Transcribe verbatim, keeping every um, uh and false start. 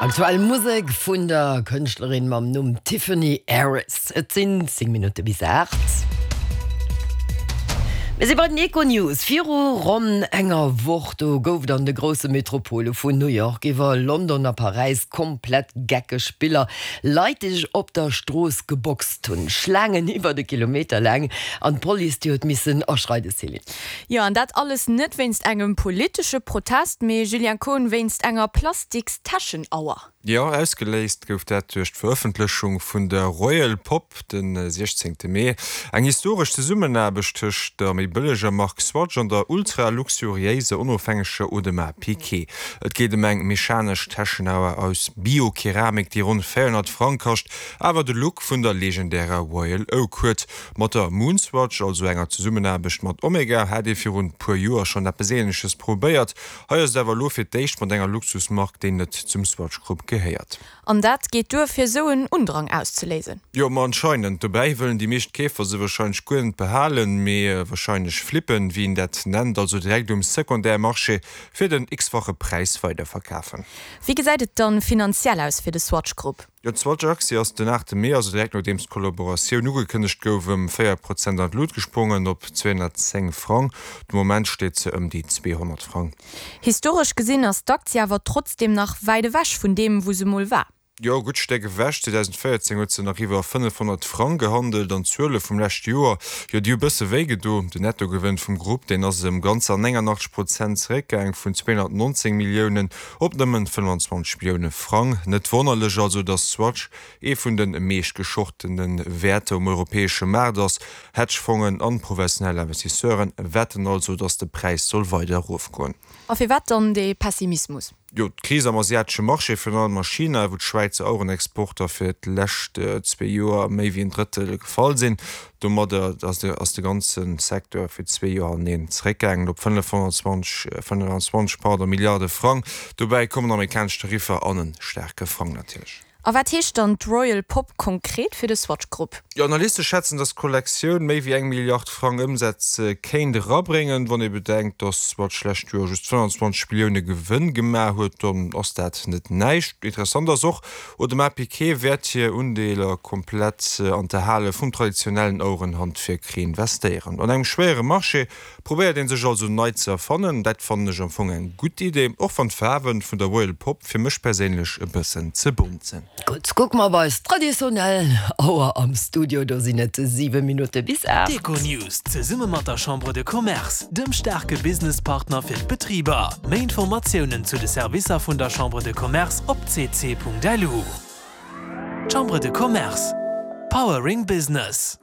Aktuell Musek vun der Kënschtlerin mam Numm Tiffany Harris. Et sinn zéng Minutte bis aacht. Mir si bei den Econews. Viru ronn enger Woch do gouf et an de grousse Metropole vun New York iwwer London a Paräis komplett geckeg Biller. Leit, déi sech op der Strooss geboxt hunn, Schlaangen iwwer de Kilometer laang an d'Police déi huet missen aschreiden, Céline. Jo, an dat alles net wéinst engem politesche Protest, mee Julien Kohn wéinst enger Plastikstäschenauer. Jo, ausgeléist gouf dat duerch d'Verëffentlechung vun der Royal Pop de siechzéngte Mee. Eng historesch Zesummenaarbecht tëscht der méi bëlleger Mark Swatch an der ultra-luxuriéiser onofhängeger Audemars Piguet. Et geet ëm eng mechanesch Täschenauer aus Bio-Keramik, déi ronn véierhonnert Frang kascht, awer de Look vun der legendärer Royal Oak huet. Mat der Moonswatch, also enger Zesummenaarbecht mat Omega, hat ee virun e puer Joer schonn eppes Änleches probéiert. Hei ass et awer elo fir d'éischt mat enger Luxusmark, déi net zum Swatch Group gehéiert. An dat geet duer fir sou en Undrang auszeléisen? Jo, ma anscheinend. Dobäi wëllen déi meescht Keefer se warscheinlech guer net behalen, mee warscheinlech flippen, wéi een dat nennt, also direkt um Secondaire-Marché fir den x-fache Präis weiderverkafen. Wéi gesäit et dann finanziell aus fir de Swatch Group? Jo, d'Swatch-Aktie ass den aachte Mee, also direkt nodeems d'Kollaboratioun ugekënnegt gouf, ëm véier Prozent an d'Lut gesprongen, op zweehonnertzéng Frang. De Moment steet se ëm déi zweehonnert Frang. Historesch gesinn ass d'Aktie awer trotzdeem nach wäit ewech vun deem, wou se mol war. Jo, e gutt Stéck ewech. zweedausendvéierzéng huet se nach iwwer fënnefhonnert Frang gehandelt an d'Zuele vum leschte Joer, jo, déi hu bësse wéi gedo. Den Nettogewënn vum Grupp, deen ass ëm ganzer néngannachtzeg Prozent zeréckgaang, vun zweehonnertnonzéng Milliounen op nëmmen fënnfanzwanzeg Millioune Frang. Net wonnerlech also, datt Swatch ee vun de meescht geschortene Wäerter um europäesche Maart ass. Hedgefongen an professionell Investisseuren wetten also, datt de Präis soll weider erofgoen. A firwat dann dee Pessimismus? Jo, d'Kris am asiatesche Marché, virun allem a China, wou d'Schwäizer Auerenexporter fir d'lescht zwee Joer méi wéi en Drëttel gefall sinn. Domadder ass de ganze Secteur fir zwee Joer hannereen zeréckgaangen op fënnefhonnertzwanzeg pardon, Milliarde Frang. Dobäi kommen amerikanesch Tariffer an e staarke Frang natierlech. A wat heescht dann d'Royal Pop konkret fir de Swatch Group? Jo, Analyste schätzen, datt d'Kollektioun méi wéi eng Milliard Frang Ëmsätz kéint erabréngen. Wann ee bedenkt, datt Swatch d'lescht Joer just fënnfanzwanzeg Millioune Gewënn gemaach huet, dann ass dat net näischt. Interessant ass och, Audemars Piguet wäert hir Undeeler komplett an d'Erhale vum traditionellen Auerenhandwierk reinvestéieren. An engem schwéiere Marché probéiert ee sech also nei ze erfannen. Dat fannen ech am Fong eng gutt Idee, och wann d'Faarwe vun der Royal Pop fir mech perséinlech e bëssen ze bont sinn. Gutt, kucke mer op eis traditionell Auer am Studio, do sinn et siwe Minutte bis aacht. D'Econews zesumme mat der Chambre de Commerce, dem staarke Businesspartner fir d'Betriber. Méi Informatiounen zu de Servicer vun der Chambre de Commerce op c c punkt l u. Chambre de Commerce, Powering Business.